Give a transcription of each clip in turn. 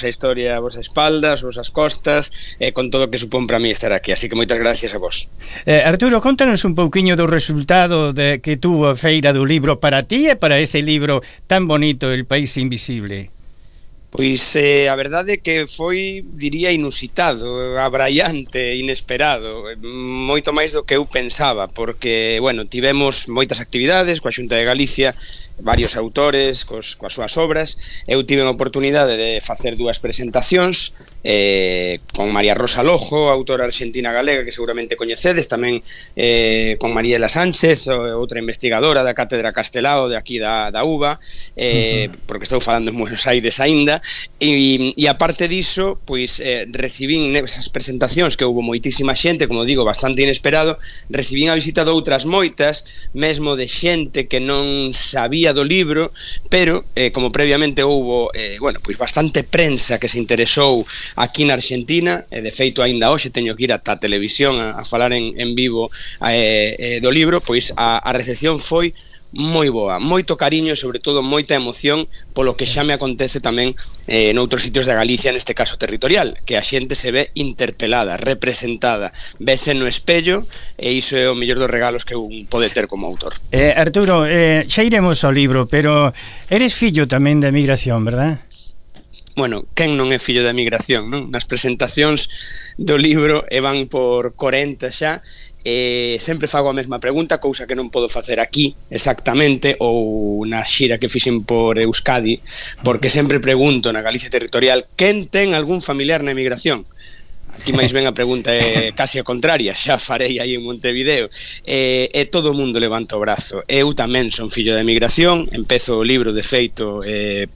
vosa historia a vosa espalda, as vosas costas, con todo o que supón para mí estar aquí, así que moitas gracias a vos. Arturo, contanos un pouquiño do resultado que tuvo a Feira do Libro para ti e para ese libro tan bonito, El País Invisible. Pois a verdade é que foi, diría, inusitado, abraiante, inesperado, moito máis do que eu pensaba, porque, bueno, tivemos moitas actividades coa Xunta de Galicia, varios autores coas súas obras. Eu tive a oportunidade de facer dúas presentacións con María Rosa Lojo, autora argentina galega que seguramente coñecedes, tamén con Mariela Sánchez, outra investigadora da Cátedra Castelao de aquí da UBA, porque estou falando en Buenos Aires aínda, e aparte diso, pois recibín nesas presentacións, que houve moitísima xente, como digo, bastante inesperado, recibín a visita de outras moitas, mesmo de xente que non sabía do libro, pero como previamente houve pois bastante prensa que se interesou aquí na Argentina, de feito aínda hoxe teño que ir ata a televisión a falar en vivo do libro, pois a recepción foi moi boa, moito cariño e sobre todo moita emoción polo que xa me acontece tamén noutros sitios de Galicia, neste caso territorial, que a xente se ve interpelada, representada, vese no espello, e iso é o mellor dos regalos que un pode ter como autor. Arturo, xa iremos ao libro, pero eres fillo tamén da emigración, verdad? Bueno, quen non é fillo da emigración, non? Nas presentacións do libro van por 40 xa, sempre fago a mesma pregunta, cousa que non podo facer aquí exactamente, ou na xira que fixen por Euskadi, porque sempre pregunto na Galicia territorial: quen ten algún familiar na emigración? Aquí máis ben a pregunta é casi a contraria, xa farei aí en Montevideo, e todo o mundo levanta o brazo. Eu tamén son fillo de emigración, empezo o libro de feito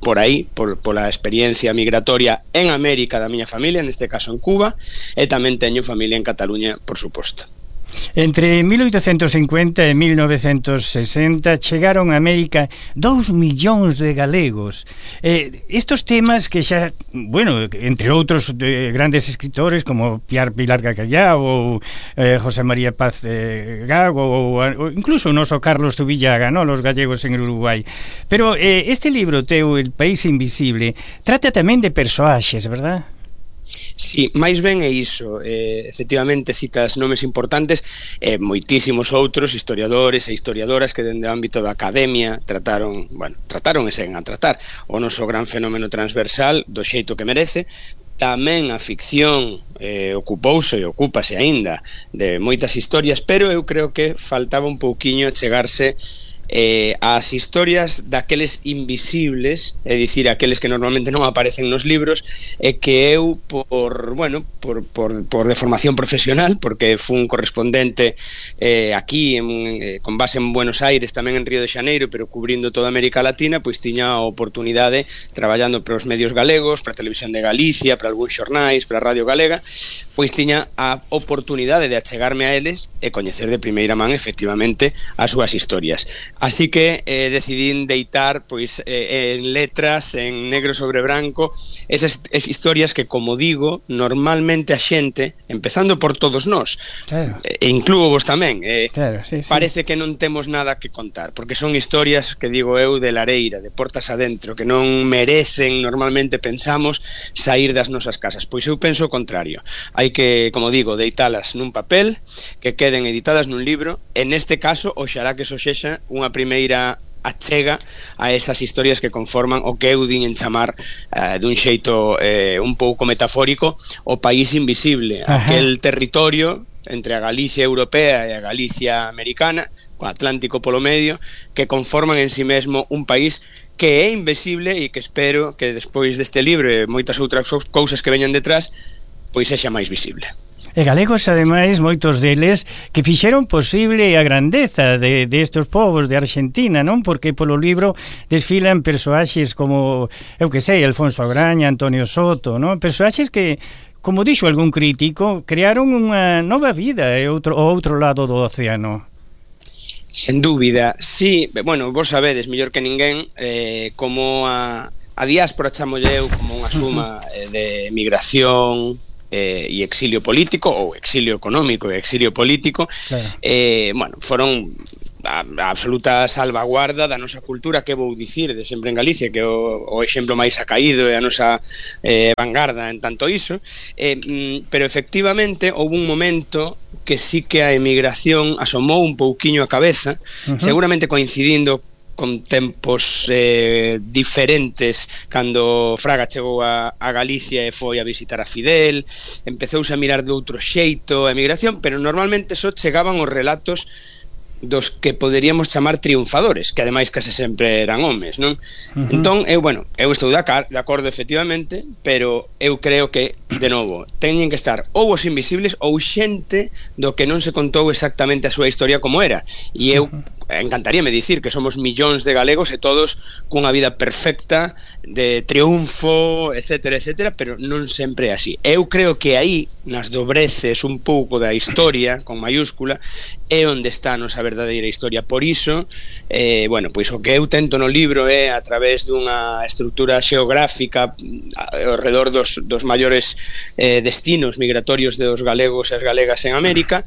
por aí, pola experiencia migratoria en América da miña familia, neste caso en Cuba, e tamén teño familia en Cataluña, por suposto. Entre 1850 e 1960 chegaron a América 2 millóns de galegos. Estos temas que xa, bueno, entre outros grandes escritores como Pilar Gacallá ou José María Paz Gago ou incluso o noso Carlos Zubillaga, ¿no? Los gallegos en Uruguai. Pero este libro teu, El País Invisible, trata tamén de persoaxes, verdad? Sí, máis ben é iso, efectivamente citas nomes importantes, moitísimos outros historiadores e historiadoras que dende o ámbito da academia trataron e seguen a tratar o noso gran fenómeno transversal do xeito que merece. Tamén a ficción ocupouse e ocúpase aínda de moitas historias, pero eu creo que faltaba un pouquiño chegarse as historias daqueles invisibles, é dicir, aqueles que normalmente non aparecen nos libros, e que eu por deformación profesional, porque fui un correspondente aquí con base en Buenos Aires, tamén en Río de Xaneiro, pero cubrindo toda América Latina, pois tiña a oportunidade, traballando para os medios galegos, para a Televisión de Galicia, para algúns xornais, para a Radio Galega, pois tiña a oportunidade de achegarme a eles e coñecer de primeira man efectivamente as súas historias. Así que decidín deitar pois en letras, en negro sobre branco, esas historias que, como digo, normalmente a xente, empezando por todos nós, claro, e incluo vos tamén, claro, sí. Parece que non temos nada que contar, porque son historias que digo eu de lareira, de portas adentro, que non merecen, normalmente pensamos, sair das nosas casas. Pois eu penso o contrario, hai que, como digo, deitalas nun papel, que queden editadas nun libro, e neste caso, oxalá que eso sexa unha primeira achega a esas historias que conforman o que eu din en chamar dun xeito un pouco metafórico o país invisible. Ajá. Aquel territorio entre a Galicia europea e a Galicia americana, co Atlántico polo medio, que conforman en si mesmo un país que é invisible e que espero que despois deste libro e moitas outras cousas que veñan detrás, pois sexa máis visible. E galegos, ademais, moitos deles que fixeron posible a grandeza de estos povos de Argentina, non? Porque polo libro desfilan persoaxes como, eu que sei, Alfonso Agraña, Antonio Soto, non? Persoaxes que, como dixo algún crítico, crearon unha nova vida ao outro lado do océano. Sen dúbida, sí, bueno, vos sabedes mellor que ninguén como a diáspora chamolle eu como unha suma de migración e exilio político, ou exilio económico e exilio político, claro. Foron a absoluta salvaguarda da nosa cultura, que vou dicir de sempre en Galicia, que é o exemplo máis acaído e a nosa vanguarda en tanto iso, pero efectivamente houve un momento que sí que a emigración asomou un pouquiño a cabeza, seguramente coincidindo con tempos diferentes, cando Fraga chegou a Galicia e foi a visitar a Fidel, empezouse a mirar de outro xeito a emigración, pero normalmente só chegaban os relatos dos que poderíamos chamar triunfadores, que ademais case sempre eran homes, non? Entón, eu estou de acordo efectivamente, pero eu creo que, de novo, teñen que estar ou os invisibles ou xente do que non se contou exactamente a súa historia como era, e eu encantaríame dicir que somos millóns de galegos e todos cunha vida perfecta de triunfo, etcétera, etcétera, pero non sempre é así. Eu creo que aí, nas dobreces un pouco da historia, con mayúscula, é onde está a nosa verdadeira historia. Por iso, pois o que eu tento no libro é, a través dunha estrutura xeográfica ao redor dos maiores destinos migratorios dos galegos e as galegas en América,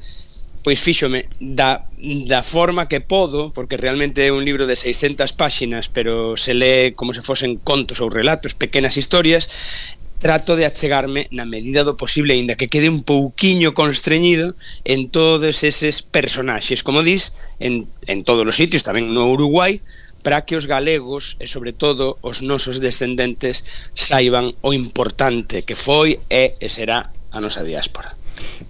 pois fíxome da forma que podo, porque realmente é un libro de 600 páxinas, pero se lee como se fosen contos ou relatos, pequenas historias. Trato de achegarme na medida do posible, aínda que quede un pouquiño constreñido, en todos eses personaxes, como dis, en todos os sitios, tamén no Uruguai, para que os galegos e sobre todo os nosos descendentes saiban o importante que foi e será a nosa diáspora.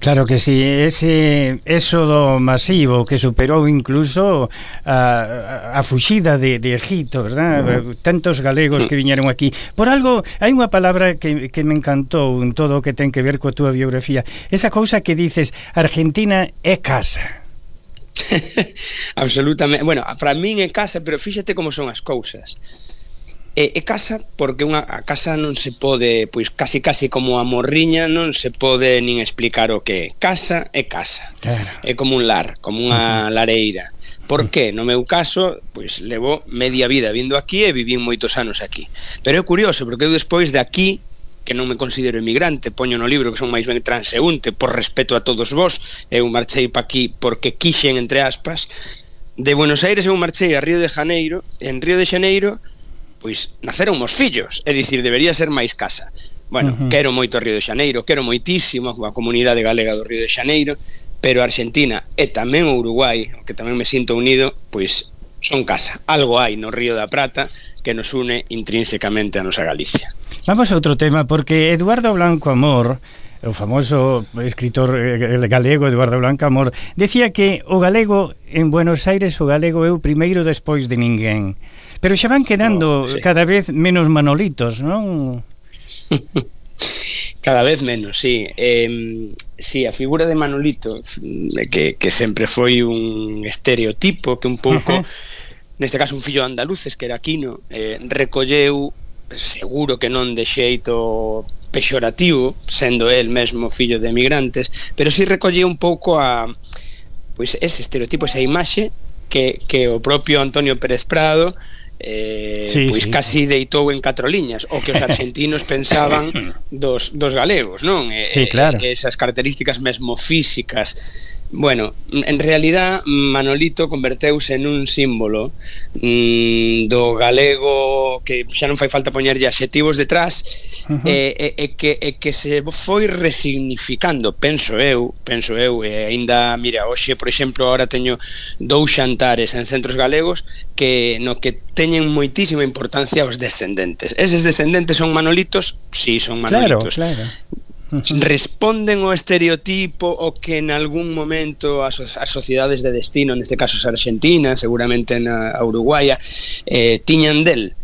Claro que sí, ese éxodo masivo que superou incluso a fuxida de Egipto, verdad? Tantos galegos que viñeron aquí. Por algo, hai unha palabra que me encantou en todo o que ten que ver coa túa biografía. Esa cousa que dices, Argentina é casa. Absolutamente. Bueno, para min é casa, pero fíxate como son as cousas. É casa porque a casa non se pode, pois casi como a morriña, non se pode nin explicar o que é. Casa é casa, claro. É como un lar, como unha lareira. Por que? No meu caso, pois levo media vida vindo aquí e vivín moitos anos aquí. Pero é curioso, porque eu despois de aquí, que non me considero emigrante, poño no libro que son máis ben transeúnte, por respeto a todos vos, eu marchei pa aquí porque quixen, entre aspas. De Buenos Aires eu marchei a Río de Janeiro, en Río de Janeiro pois naceron os fillos, é dicir, debería ser máis casa. Bueno, quero moito Río de Janeiro, quero moitísimo a comunidade galega do Río de Janeiro, pero a Argentina e tamén o Uruguai, que tamén me sinto unido, pois son casa. Algo hai no Río da Prata que nos une intrínsecamente a nosa Galicia. Vamos a outro tema, porque Eduardo Blanco Amor, o famoso escritor galego Eduardo Blanco Amor, decía que o galego en Buenos Aires, o galego é o primeiro despois de ninguén. Pero xa van quedando cada vez menos manolitos, non? Cada vez menos, sí. Sí, a figura de Manolito, que sempre foi un estereotipo, que un pouco, neste caso un fillo de andaluces, que era Aquino, recolleu, seguro que non de xeito pexorativo, sendo el mesmo fillo de emigrantes, pero sí recolleu un pouco pois ese estereotipo, esa imaxe que o propio Antonio Pérez Prado pois casi deitou en 4 liñas o que os argentinos pensaban dos galegos, non? Sí, claro. Esas características mesmo físicas. Bueno, en realidad Manolito converteuse en un símbolo do galego, que xa non fai falta poñerlle adxetivos detrás, e que se foi resignificando, penso eu, e aínda, mira, hoxe, por exemplo, ahora teño 2 xantares en centros galegos no que teñen moitísima importancia os descendentes. Eses descendentes son manolitos? Sí, son manolitos. Claro. Responden ao estereotipo o que en algún momento as sociedades de destino, neste caso as argentinas, seguramente a uruguaya, tiñan del.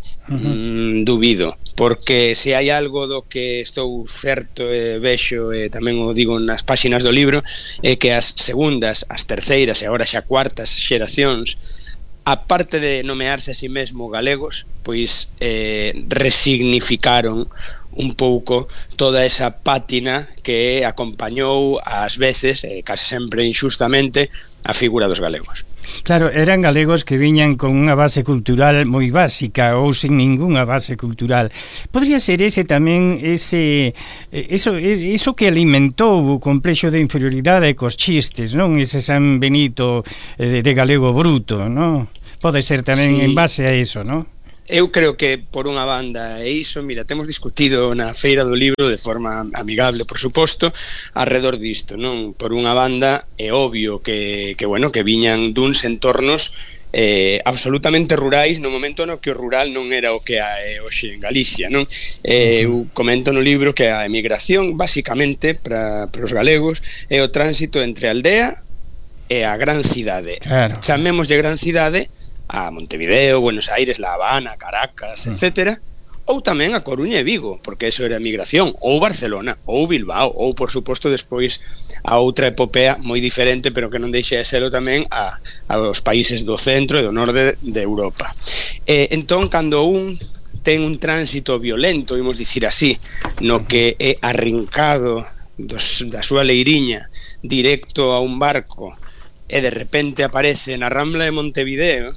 Dubido, porque se hai algo do que estou certo e vexo, e tamén o digo nas páxinas do libro, é que as segundas, as terceiras e agora xa cuartas xeracións, aparte de nomearse a si mesmo galegos, pois resignificaron un pouco toda esa pátina que acompañou ás veces, case sempre inxustamente, a figura dos galegos. Claro, eran galegos que viñan con unha base cultural moi básica ou sin ningunha base cultural. Podría ser ese tamén eso que alimentou o complexo de inferioridade cos chistes, non? Ese San Benito de galego bruto, non? Pode ser tamén en base a eso, non? Eu creo que por unha banda é iso, mira, temos discutido na Feira do Libro de forma amigable, por suposto, alrededor disto, non? Por unha banda é obvio que viñan duns entornos absolutamente rurais no momento no que o rural non era o que é hoxe en Galicia, non? Eu comento no libro que a emigración basicamente para os galegos é o tránsito entre a aldea e a gran cidade. Claro. Chamémoslle gran cidade a Montevideo, Buenos Aires, La Habana, Caracas, etcétera, ou tamén a Coruña e Vigo, porque eso era migración, ou Barcelona, ou Bilbao, ou por suposto despois a outra epopea moi diferente, pero que non deixa de serlo tamén aos países do centro e do norte de Europa. Entón, cando un ten un tránsito violento, imos dicir así, no que é arrincado da súa leiriña directo a un barco e de repente aparece na Rambla de Montevideo,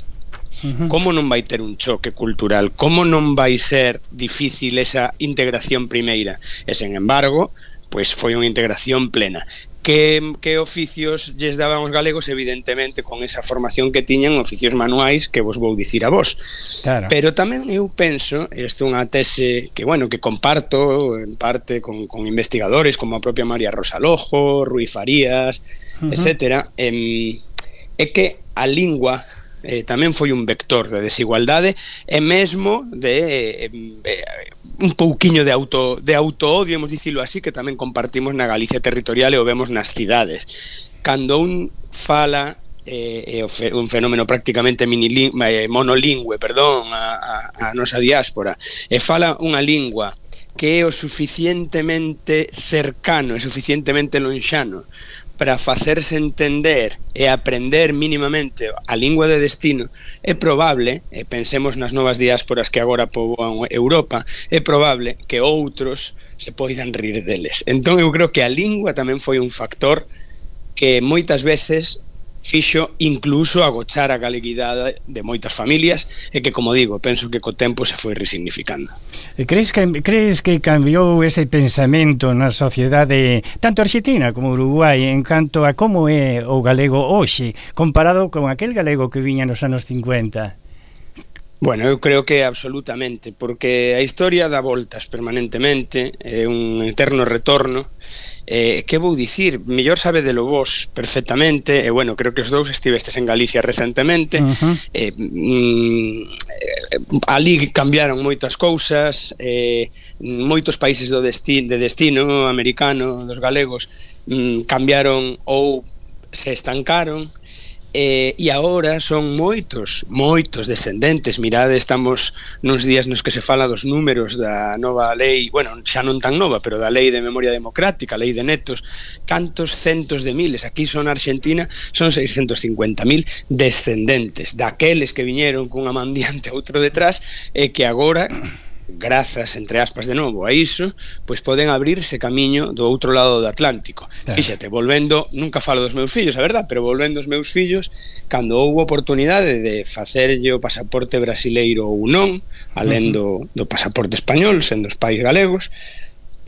como non vai ter un choque cultural, como non vai ser difícil esa integración primeira, e sen embargo pois foi unha integración plena. Que oficios lles daban os galegos? Evidentemente con esa formación que tiñan, oficios manuais que vos vou dicir a vos. Claro. Pero tamén eu penso, isto é unha tese que comparto en parte con investigadores como a propia María Rosa Lojo, Rui Farías, etcétera, é que a lingua tamén foi un vector de desigualdade e mesmo de un pouquiño de auto-odio, hemos dicilo así, que tamén compartimos na Galicia territorial e o vemos nas cidades. Cando un fala un fenómeno prácticamente monolingüe, a nosa diáspora, e fala unha lingua que é o suficientemente cercano e suficientemente lonxano para facerse entender e aprender mínimamente a lingua de destino, é probable, pensemos nas novas diásporas que agora poboan Europa, é probable que outros se poidan rir deles. Entón eu creo que a lingua tamén foi un factor que moitas veces fixo incluso agochar a galeguidade de moitas familias e que, como digo, penso que co tempo se foi resignificando. Crees que cambiou ese pensamento na sociedade tanto argentina como Uruguai en canto a como é o galego hoxe comparado con aquel galego que viña nos anos 50? Bueno, eu creo que absolutamente, porque a historia dá voltas permanentemente, é un eterno retorno. Que vou dicir? Mellor sabedelo vos perfectamente, e creo que os dous estivestes en Galicia recentemente. Ali cambiaron moitas cousas, moitos países de destino americano dos galegos cambiaron ou se estancaron. E agora son moitos descendentes. Mirade, estamos nuns días nos que se fala dos números da nova lei, xa non tan nova, pero da lei de memoria democrática, a lei de netos, cantos centos de miles, aquí son Argentina, son 650.000 descendentes daqueles que viñeron cunha man diante outro detrás e que agora, grazas, entre aspas de novo, a iso, pois poden abrirse camiño do outro lado do Atlántico. Claro. Fíxate, volvendo, nunca falo dos meus fillos, a verdad, pero volvendo aos meus fillos, cando houve oportunidade de facerlle o pasaporte brasileiro ou non, alén do pasaporte español, sendo os pais galegos,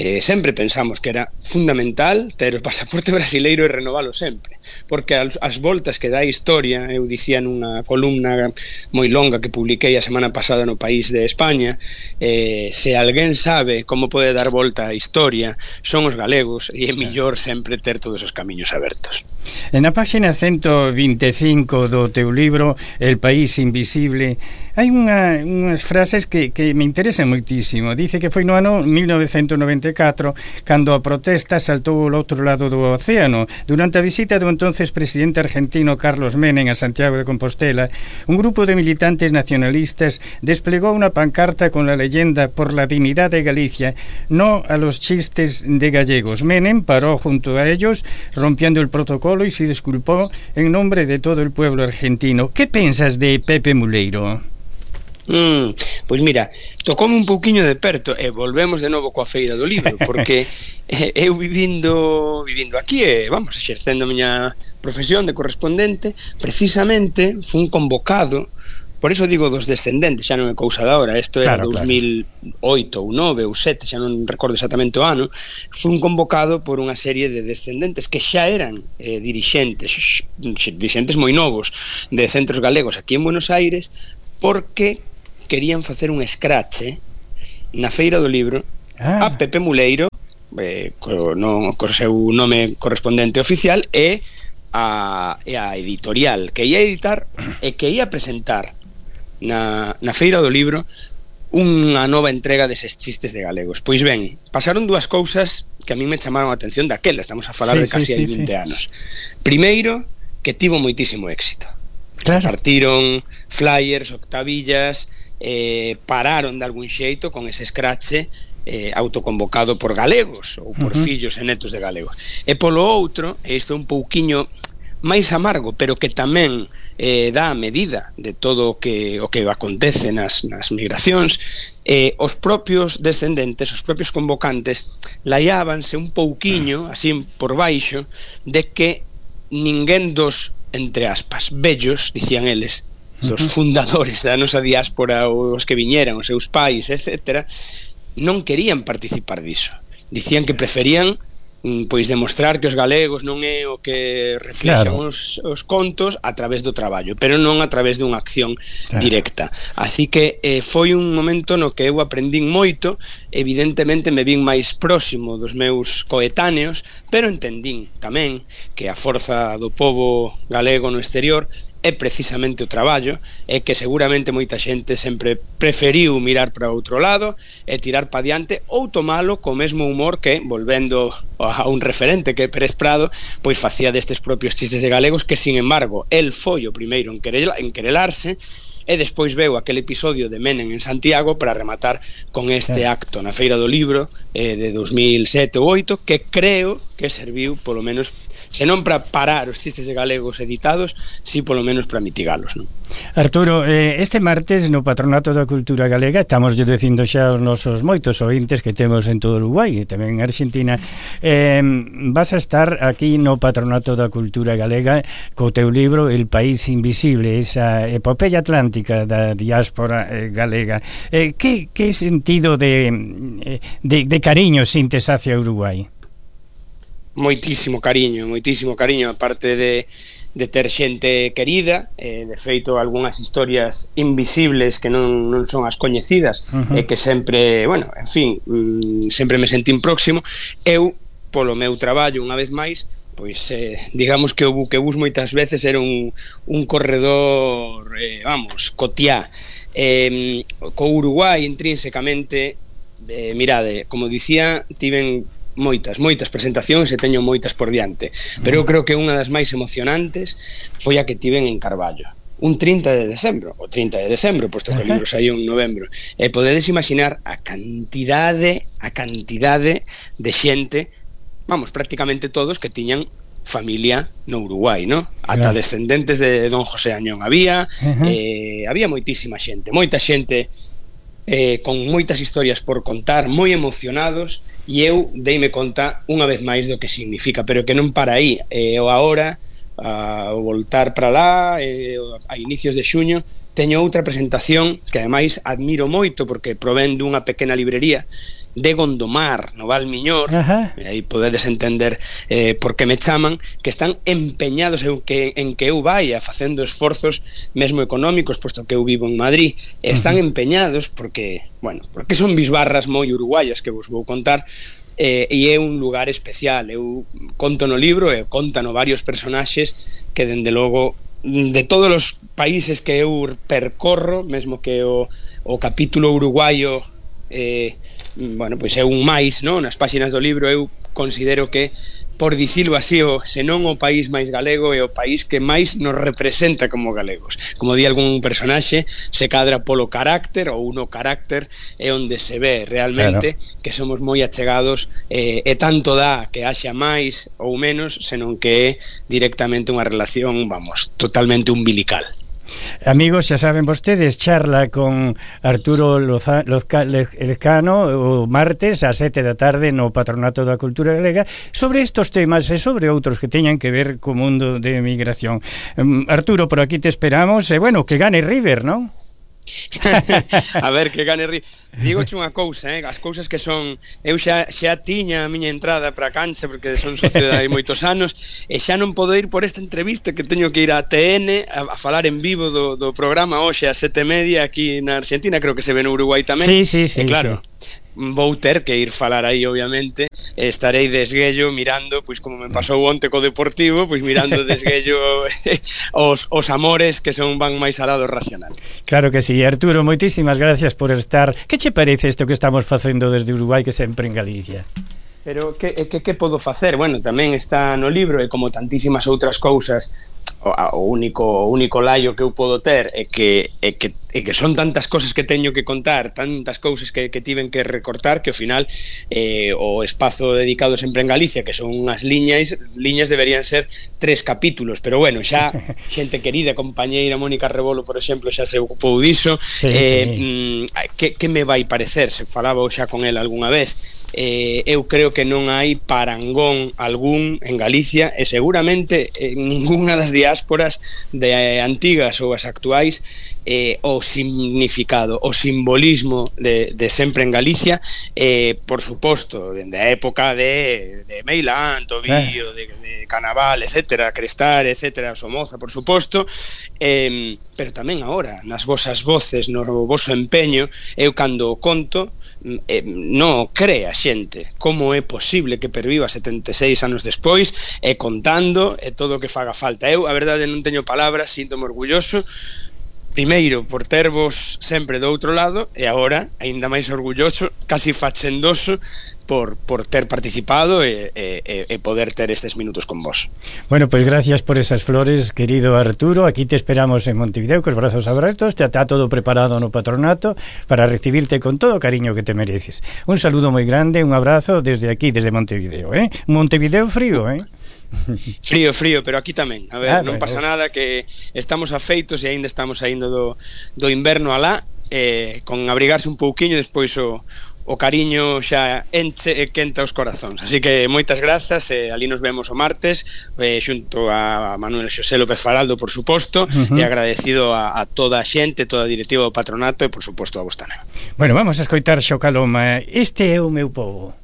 sempre pensamos que era fundamental ter o pasaporte brasileiro e renovalo sempre, porque as voltas que dá a historia, eu dicía nunha columna moi longa que publiquei a semana pasada no País de España, se alguén sabe como pode dar volta a historia son os galegos, e é millor sempre ter todos os camiños abertos. Na página 125 do teu libro El País Invisible hai unhas frases que me interesan moitísimo. Dice que foi no ano 1994 cando a protesta saltou ao outro lado do océano. Durante a visita do entonces presidente argentino Carlos Menem a Santiago de Compostela, un grupo de militantes nacionalistas desplegó una pancarta con la leyenda "Por la dignidad de Galicia, no a los chistes de gallegos". Menem paró junto a ellos, rompiendo el protocolo, y se disculpó en nombre de todo el pueblo argentino. ¿Qué piensas de Pepe Muleiro? Pois mira, tocoume un pouquiño de perto e volvemos de novo coa Feira do Libro, porque eu vivindo aquí vamos, exercendo a miña profesión de correspondente, precisamente fun convocado. Por iso digo dos descendentes, xa non é cousa da hora, isto era 2008 ou 9 ou 7, xa non recordo exactamente o ano. Fun convocado por unha serie de descendentes que xa eran dirixentes moi novos de centros galegos aquí en Buenos Aires, porque querían facer un escrache na Feira do Libro a Pepe Muleiro, co seu nome correspondente oficial, e a editorial que ia editar e que ia presentar na Feira do Libro unha nova entrega deses chistes de galegos. Pois ben, pasaron dúas cousas que a mí me chamaron a atención daquela, estamos a falar de casi hai 20 anos. Primeiro, que tivo moitísimo éxito. Partiron flyers, octavillas, pararon de algún xeito con ese escrache autoconvocado por galegos ou por fillos e netos de galegos. E polo outro, isto é un pouquiño máis amargo, pero que tamén dá a medida de todo o que acontece nas migracións, os propios descendentes, os propios convocantes laiábanse un pouquiño, así por baixo, de que ninguén dos, entre aspas, vellos, dicían eles, dos fundadores da nosa diáspora, os que viñeran, os seus pais, etc., non querían participar diso. Dicían que preferían pois demostrar que os galegos non é o que reflexan os contos a través do traballo, pero non a través dunha acción directa. Así que foi un momento no que eu aprendín moito, evidentemente me vin máis próximo dos meus coetáneos, pero entendín tamén que a forza do pobo galego no exterior é precisamente o traballo, e que seguramente moita xente sempre preferiu mirar para outro lado e tirar pa diante, ou tomalo co mesmo humor que, volvendo a un referente que é Pérez Prado, pois facía destes propios chistes de galegos, que sin embargo el foi o primeiro en querelarse, e despois veu aquel episodio de Menem en Santiago para rematar con este acto na Feira do Libro de 2007 ou 2008, que creo que serviu polo menos, se non para parar os chistes de galegos editados, si polo menos para mitigalos, non? Arturo, este martes no Patronato da Cultura Galega, estamos dicindo xa os nosos moitos ointes que temos en todo Uruguai e tamén en Argentina, vas a estar aquí no Patronato da Cultura Galega co teu libro El País Invisible, esa epopeya atlántica da diáspora galega. Que sentido de cariño sintes hacia Uruguai? Moitísimo cariño, aparte de ter xente querida, de feito algunhas historias invisibles que non son as coñecidas, e que sempre, bueno, en fin, sempre me sentín próximo. Eu, polo meu traballo, unha vez máis, pois digamos que o buquebús moitas veces era un corredor, cotiá. Co Uruguai intrínsecamente, mirade, como dicía, tiven moitas presentacións e teño moitas por diante, pero eu creo que unha das máis emocionantes foi a que tiven en Carballo un 30 de decembro, posto que o libro saiu en novembro, e podedes imaginar a cantidade de xente, vamos, prácticamente todos que tiñan familia no Uruguai, ¿no? Ata descendentes de don José Añón había moitísima xente, moita xente con moitas historias por contar, moi emocionados, e eu deime conta unha vez máis do que significa, pero que non para aí. O agora, ao voltar para lá, a inicios de xuño, teño outra presentación que ademais admiro moito, porque provén dunha pequena librería de Gondomar, no Val Miñor, e aí podedes entender por que me chaman, que están empeñados en que eu vaya facendo esforzos mesmo económicos, posto que eu vivo en Madrid, e están empeñados porque son bisbarras moi uruguayas que vos vou contar, e é un lugar especial. Eu conto no libro e contano varios personaxes que, dende logo, de todos os países que eu percorro, mesmo que o capítulo uruguayo pois é un máis, non? Nas páxinas do libro eu considero que, por dicilo así, se non o país máis galego, é o país que máis nos representa como galegos. Como di algún personaxe, se cadra polo carácter, ou no carácter é onde se ve realmente que somos moi achegados, e tanto dá que haxa máis ou menos, senón que é directamente unha relación, totalmente umbilical. Amigos, xa saben vostedes, charla con Arturo Lezcano o martes a 7 da tarde no Patronato da Cultura Galega sobre estos temas e sobre outros que teñan que ver co mundo de migración. Arturo, por aquí te esperamos e, bueno, que gane River, non? A ver, que gane River. Digoche unha cousa, as cousas que son... Eu xa tiña a miña entrada para a cancha porque son socio de hai moitos anos e xa non podo ir por esta entrevista que teño que ir a TN a falar en vivo do programa hoxe a 7:30 aquí na Argentina, creo que se ve no Uruguai tamén. Sí, e claro, vou ter que ir falar aí, obviamente. Estarei de esguello mirando, pois como me pasou onte co Deportivo, pois mirando de esguello os amores que van máis alá do racional. Claro que sí. Arturo, moitísimas gracias por estar. Que che parece isto que estamos facendo desde Uruguai, que sempre en Galicia? Pero que podo facer? Bueno, tamén está no libro e como tantísimas outras cousas, o único laio que eu podo ter é que son tantas cousas que teño que contar, tantas cousas que tiven que recortar, que ao final o espazo dedicado sempre en Galicia, que son unhas liñas deberían ser 3 capítulos, pero bueno, xa xente querida, compañeira Mónica Rebolo, por exemplo, xa se ocupou diso. Que me vai parecer? Se falaba xa con el algunha vez. Eu creo que non hai parangón algún en Galicia e seguramente en ninguna das diásporas de antigas ou as actuais o significado, o simbolismo de sempre en Galicia, por suposto, dende a época de Meilán, Tobío, de Canaval, etcétera, Crestar, etcétera, Somoza, por suposto, pero tamén agora, nas vosas voces, no voso empeño, eu cando o conto, non cree a xente como é posible que perviva 76 anos despois e contando e todo o que faga falta. Eu, a verdade, non teño palabras, síntome orgulloso primeiro por tervos sempre do outro lado e agora aínda máis orgulloso, casi fachendoso por ter participado e poder ter estes minutos con vos. Bueno, pues gracias por esas flores, querido Arturo. Aquí te esperamos en Montevideo con os brazos abertos. Ya está todo preparado no patronato para recibirte con todo o cariño que te mereces. Un saludo moi grande, un abrazo desde aquí, desde Montevideo, Montevideo frío, Frío, pero aquí tamén. A ver, non pasa nada, que estamos afeitos e aínda estamos saindo do inverno alá, con abrigarse un pouquiño, despois o cariño xa enche e quenta os corazóns. Así que moitas grazas, ali nos vemos o martes, xunto a Manuel Xosé López Faraldo, por suposto, e agradecido a toda a xente, toda a directiva do patronato e por suposto a vos tamén. Bueno, vamos a escoitar Xocaloma. Este é o meu povo.